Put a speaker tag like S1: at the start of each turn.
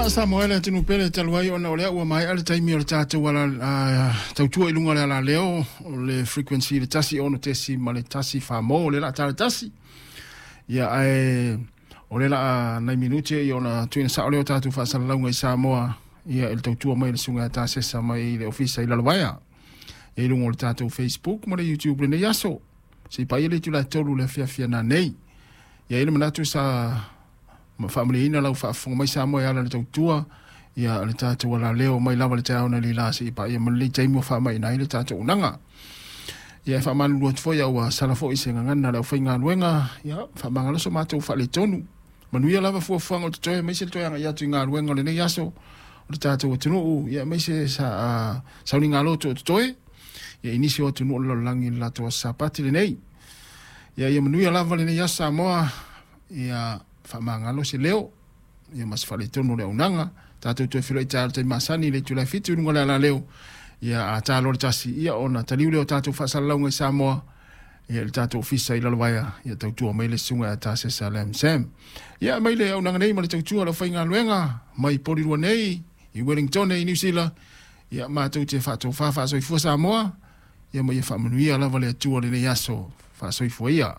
S1: Samoa e le atunuu pele talu ai ona o lea ua maea le taimi o le tatou ala tautua i luga o le alaleo o le frequency le 106.1 mo o le la tala tasi. Ia ae o le la nai minute ia ona tuuina sao lea o tatou faasalalauga i Samoa ia i le tautua mai le susuga ia Tasesa mai le ofisa i Lalovaea. Ia i luga o le tatou Facebook ma le YouTube lenei aso. Se i paia le itula e 3 le afiafi nanei. Ia i le manatu sa ma faamalieina lau faafofoga mai Samoa e ala i le tautua ia le tatou alaleo mai lava le taeao nei la se i paia ma lenei taimi ua faamaina ai le tatou unaga. Ia e faamalulu atu foi ua sala foi se gagana le aufaigaluega ia faamagalo so matou faaletonu. Manuia lava fuafuaga o totoe aemaise le toe agai atu i galuega o lenei aso o le tatou atunuu ia aemaise sa sauniga loto o totoe ia i nisi o atunuu o le lalolagi i le latou aso Sapati lenei. Ia ia manuia lava lenei aso Samoa ia faamagalo se leo ia ma se faaletonu o le auaunaga. Tatou toe feiloai taeao i le taimi masani i le itula e 7 i luga o le alaleo ia a ta loa le 1 ia ona taliu lea o tatou faasalalauga i Samoa ia i le tatou ofisa i Lalovaea ia tautua mai le susuga ia Tasesa Lam Sam. Ia mai le auaunaga nei ma le tautua o le aufaigaluega mai Porirua nei i Wellington i Niu Sila ia matou te faatofa faasoifua Samoa ia ma ia faamanuia lava le Atua lenei aso faasoifua ia.